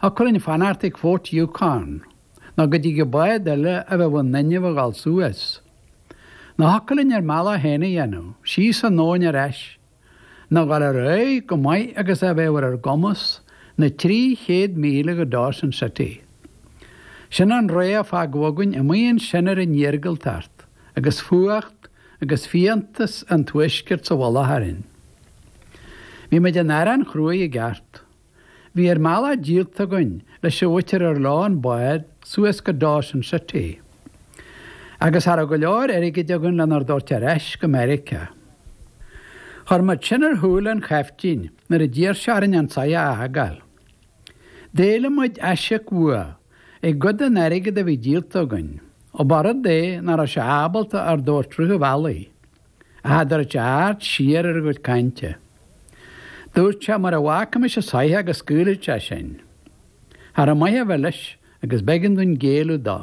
Thiocfadh linn fanacht ag Fort Yukon nó go dtí go bád eile a bheadh in inmhe a dhul suas. Nó thiocfadh linn ár mbealach féin a dhéanamh, síos an abhainn ar ais, nó dhul ar aghaidh chomh maith agus a bheadh ar ár gcumas na 300 míle go Dawson City. Sin an rogha a fágadh againn amuigh ansin ar an iargúltacht agus fuacht agus fiántas an tuaiscirt sa mhullach orainn. Bhí muid in arán chruaidh i gceart. Bhí ár mbealach díolta againn leis an mhuintir ar leo an bád suas go Dawson City. Agus cha raibh go leor airgid againn lenár dtabhairt ar ais go Meiriceá. Chuir muid sin ar shúile an chaiftín nuair a d'iarr sé orainn an soitheach a fhágáil. D'éiligh muid aisíoc uaidh i gcuid den airgead a bhí díolta againn, ó ba rud é nach raibh sé ábalta ár dtabhairt rith an bhealaigh. Ach cha dtabhairt aird siar ar a chuid cainte. Dúirt sé mura bhfágfaimis an soitheach go scaoilfeadh sé sinn. Cha raibh maith a bheith leis agus b'éigean dúinn géilleadh dó.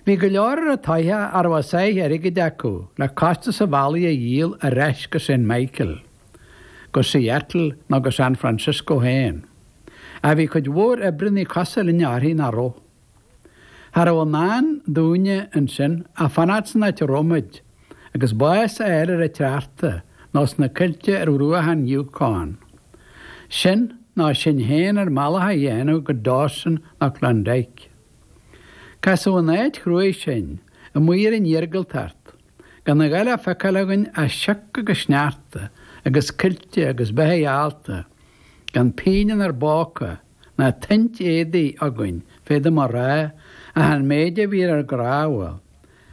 Bhí go leor ar an tsoitheach a raibh a sáith airgid acu le costas an bhealaigh a dhíol ar ais go Saint Michael, go Seattle nó go San Francisco féin. Ach bhí cuid mhór oibreannaí cosúil linne uirthi nach raibh. Cha raibh i ndán dúinne ansin ach fanacht san áit a raibh muid agus bás a fháil ar an tsneachta nó sna coillte ar bhruacha an Yukon. Sin nó sinn féin ár mbealach a dhéanamh go Dawson nó Klondike. Casadh an áit chruaidh sinn, amuigh ar an iargúltacht, gan a dhath le feiceáil againn ach sioc agus sneachta agus coillte agus beithígh allta, gan pingin inár bpóca, ná tuint éadaigh againn, féadaim a rá, ach an méid a bhí ar ár gcnámha,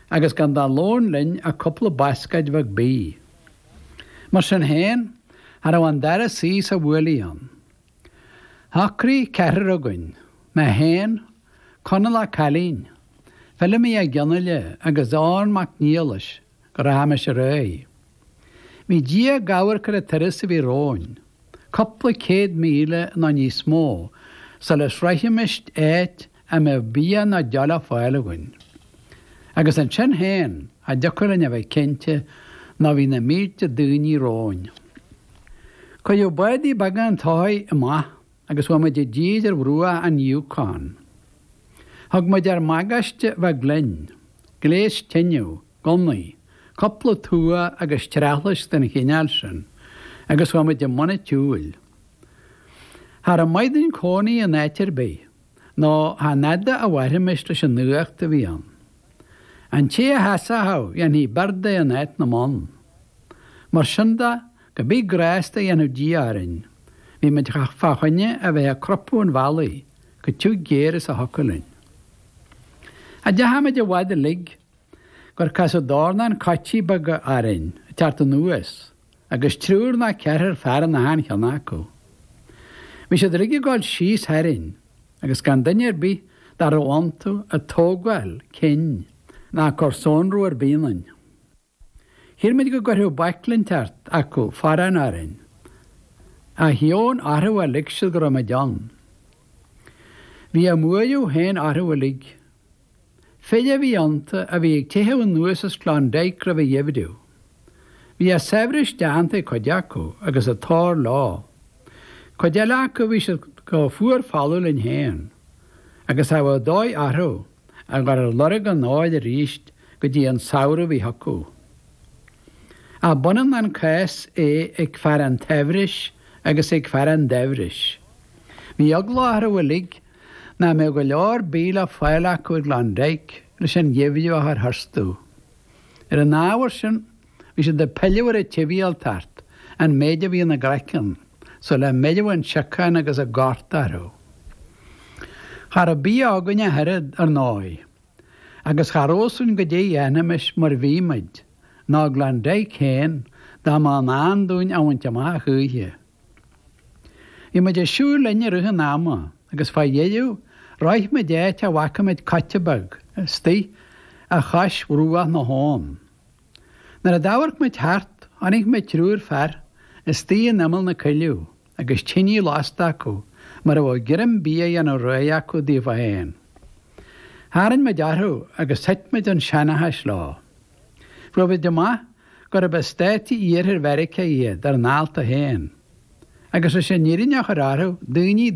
agus gan de lón linn ach cúpla bascáid bheag bídh. Mar sin féin, cha raibh an dara suí sa bhuailidh ann. Shocraigh ceathrar againn, mé féin, Conall Ó Cailín, Feilimí Ó Donnghaile agus Eoghan Mac Niallais, go rachaimis ar aghaidh. Bhí Dia ag amharc ar an turas a bhí romhainn, cúpla céad míle nó níos mó sula sroichfimis áit a mbeadh bia nó deoch le fáil againn. Agus ansin féin, cha dtiocfadh linn a bheith cinnte nó bhí na mílte daoine romhainn. Cuireadh bádaí beaga an tsoithigh amach agus chuaigh muid i dtír ar bhruach an Yukon. Thug muid ár mbagáiste bheag linn, gléas tineadh, gunnaí, cúpla tua agus treathlaisc den chineál sin, agus chuaigh muid i mbun an tsiúil. Cha raibh maith dúinn cónaí in áit ar bith, nó chan fhada a mhairfimis leis an fhuacht a bhí ann. An té a sheasódh, dhéanfaí beart de in áit na mbonn. Mar sin de, cibé grásta a dhéanfadh Dia orainn, bhí muid fá choinne a bheith ag crupadh an bhealaigh chomh tiugh géar is a thiocfadh linn. Cha dteachaigh muid i bhfad uilig gur casadh dornán coití beaga orainn ag teacht anuas agus triúr nó ceathrar fear in achan cheann acu. Bhí siad uilig ag dul síos tharainn agus gan duine ar bith dá raibh iontu ag tógáil cinn ná ag cur sonrú ar bith ionainn. Shíl muid go gcuirfeadh baicle inteacht acu forrán orainn, ach dheamhan orthu a lig siad go raibh muid ann. Bhí a mbuaireamh féin orthu uilig. Fir a bhí iontu a bhí ag teitheadh anuas as Klondike roimh an gheimhreadh. Bhí a saibhreas déanta ag cuid acu agus a tóir leo. Cuid eile acu bhí siad chomh fuar folamh linn féin, agus cha bheadh dóigh orthu a dhul ar lorg an óir arís go dtí an samhradh a bhí chucu. Ach b'ionann an cás é ag fear an tsaibhris agus ag fear an daibhris. Bhí eagla orthu uilig nach mbeadh go leor bídh le fáil acu i gClondike leis an gheimhreadh a chur tharstu. Ar an ábhar sin, Bhí siad ag pilleadh ar an tsibhialtacht, an méid a bhí ina gcraiceann, sula mbeirfeadh an siocán agus an gorta orthu. Cha raibh bia againn ach oiread, ar ndóigh, agus cha raibh fhios againn goidé a dhéanfaimis mar bhí muid, ná i gClondike féin, dá mba i ndán dúinn a bhaint amach a choíche. Bhí muid ag siúl linn i rith an ama agus fá dheireadh shroich muid áit a bhfaca muid coite beag istigh a chois bhruach na habhann. Nuair a d'amharc muid thart, chonaic muid triúr fear istigh in imeall na coilleadh agus tinidh lasta acu mar a bheadh greim bídh á dhéanamh réidh acu daofa féin. Tharraing muid orthu agus thit muid chun seanchais leo. Fuair muid amach gurb as Státaí Iarthair Mheiriceá iad ar a ndálta féin. Agus leis an fhírinne a chur orthu, daoine.